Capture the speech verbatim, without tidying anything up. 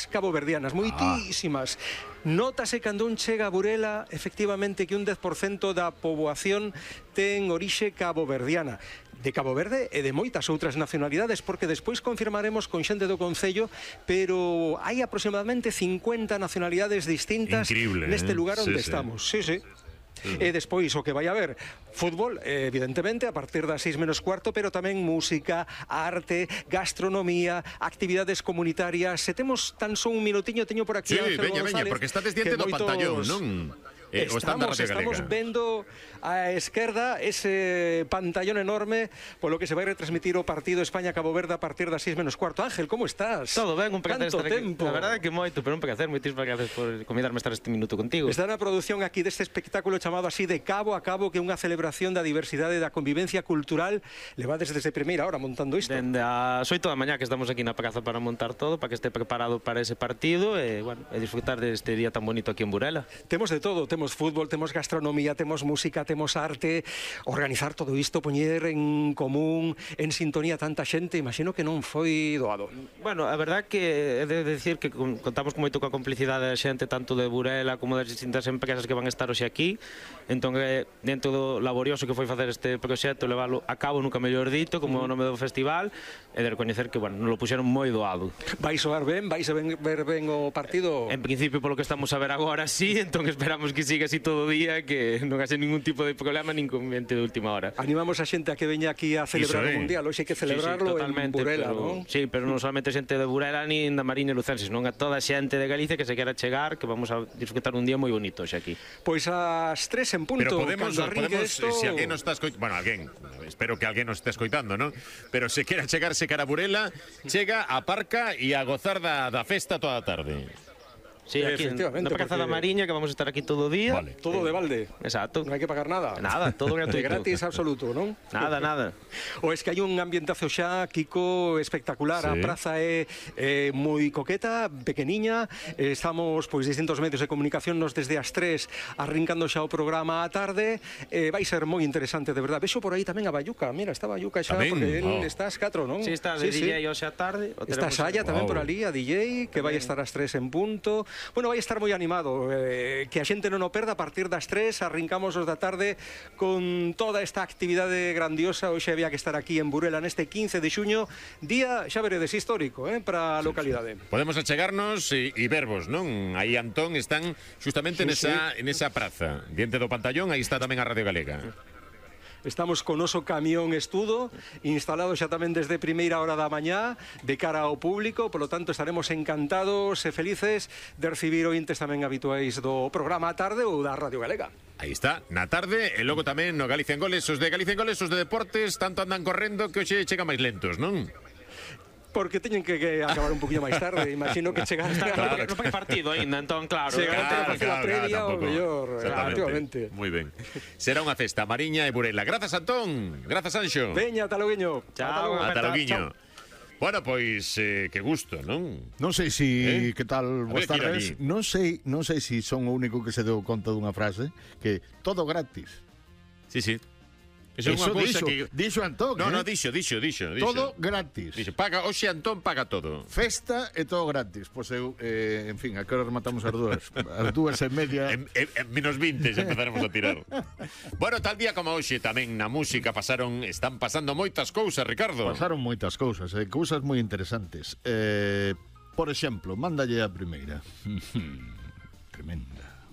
caboverdianas, moitísimas. Ah. Nótase cando un chega a Burela, efectivamente, que un dez por cento da poboación ten orixe caboverdiana. De Cabo Verde e de moitas outras nacionalidades, porque despois confirmaremos con xente do Concello, pero hai aproximadamente cincuenta nacionalidades distintas. Increíble, neste eh? lugar onde sí, estamos. Sí, sí. Sí. E despois o que vai haber fútbol, evidentemente, a partir das seis menos cuarto, pero tamén música, arte, gastronomía, actividades comunitarias. Se temos tan só un minutiño, teño por aquí sí, Ángel veña, González, veña, porque estás diante do moitos... pantallón, non? Eh, estamos, estamos vendo a esquerda ese pantallón enorme polo que se vai retransmitir o partido España-Cabo Verde a partir das seis menos cuarto. Ángel, como estás? Todo ben, un placer estar aquí. Tempo. La verdade é que moito, pero un placer, moitísimas gracias por convidarme a estar este minuto contigo. Está na produción aquí deste espectáculo chamado así de Cabo a Cabo, que é unha celebración da diversidade e da convivencia cultural. Levades desde primeira hora montando isto. Dende as oito da mañá que estamos aquí na praza para montar todo, para que este preparado para ese partido e, bueno, e disfrutar deste día tan bonito aquí en Burela. Temos de todo, temos fútbol, temos gastronomía, temos música, temos arte. Organizar todo isto, poñer en común, en sintonía tanta xente, imagino que non foi doado. Bueno, a verdade que é de decir que contamos con moito coa complicidade da xente, tanto de Burela como das distintas empresas que van a estar hoxe aquí. Entón, dentro do laborioso que foi facer este proxecto, leválo a cabo, nunca mellor dito, como o nome do festival, e de recoñecer que, bueno, nos lo puxeron moi doado. Vai soar ben? Vais a ver ben o partido? En principio, polo que estamos a ver agora, sí, entón esperamos que siga así todo o día, que non haxe ningún tipo de problema, nin conveniente de última hora. Animamos a xente a que veña aquí a celebrar o Mundial, hoxe hai que celebrarlo sí, sí, en Burela, pero, non? Sí, pero non solamente xente de Burela nin da Mariña e Lucenses, non a toda xente de Galicia que se quera chegar, que vamos a disfrutar un día moi bonito hoxe aquí. Pois ás tres en punto. Pero podemos, podemos esto... si alguén nos está escoitando, bueno, alguén, espero que alguén nos esté escoitando, non? Pero se quera chegarse cara a Burela, chega, aparca e a gozar da, da festa toda a tarde. Sí, aquí na Praza da Mariña, que vamos a estar aquí todo o día. Vale. Todo de balde. Exacto. Non hai que pagar nada. Nada, todo gratuito. De gratis absoluto, non? Nada, nada. O es que hai un ambientazo xa, Kiko, espectacular. Sí. A praza é, é moi coqueta, pequeniña. Estamos, pois, distintos medios de comunicación nos desde as tres arrincando xa o programa á tarde. Eh, vai ser moi interesante, de verdade. Vexo por aí tamén a Bayuca. Mira, está Bayuca xa, tamén? porque Oh. él está ás catro, non? Sí, está de sí, D J sí. hoxe á tarde. Está Saya tamén Wow. por ali, a D J, que vai estar ás tres en punto. Bueno, vai estar moi animado, eh, que a xente non o perda. A partir das tres, arrincamos os da tarde con toda esta actividade grandiosa. Hoxe había que estar aquí en Burela neste quince de xuño, día, xa veredes, histórico, eh, para a localidade. Podemos achegarnos e, e vervos, non? Aí, Antón, están justamente Sí, nesa, en esa praza, diante do pantallón, aí está tamén a Radio Galega. Estamos con oso camión estudo instalado xa tamén desde primeira hora da mañá de cara ao público, polo tanto estaremos encantados e felices de recibir ointes tamén habituais do programa a tarde ou da Radio Galega. Aí está, na tarde, e logo tamén no Galicia en Goles, os de Galicia en Goles, os de deportes, tanto andan correndo que hoxe chega máis lentos, non? Porque teñen que, que acabar un poquinho máis tarde. Imagino que chegar Claro, non fai partido aínda, entón, claro. Chegar Claro, a facer a claro, previa claro, o mellor, Exactamente. efectivamente. Moi ben. Será unha festa mariña e Burela. Grazas, Antón. Grazas, Anxo. Veña, ata loguiño. Chao, Ata Ata, loguiño. Bueno, pois, eh, que gusto, non? Non sei si, Eh? que tal, A boas ver, tira tardes. ali. Non sei, non sei si son o único que se deu conta dunha frase que todo gratis. Sí, sí. Eso é unha Eso cousa dixo, que... dixo Antón, No, eh? no, dixo, dixo, dixo, dixo. Todo gratis. Dixo, paga, hoxe Antón paga todo. Festa e todo gratis. Pois eu, eh, en fin, a que hora rematamos as dúas? As dúas e media. En, en, en menos vinte xa empezaremos a tirar. Bueno, tal día como hoxe tamén na música pasaron, están pasando moitas cousas, Ricardo. Pasaron moitas cousas, eh, cousas moi interesantes. Eh, por exemplo, mándalle a primeira. Tremenda.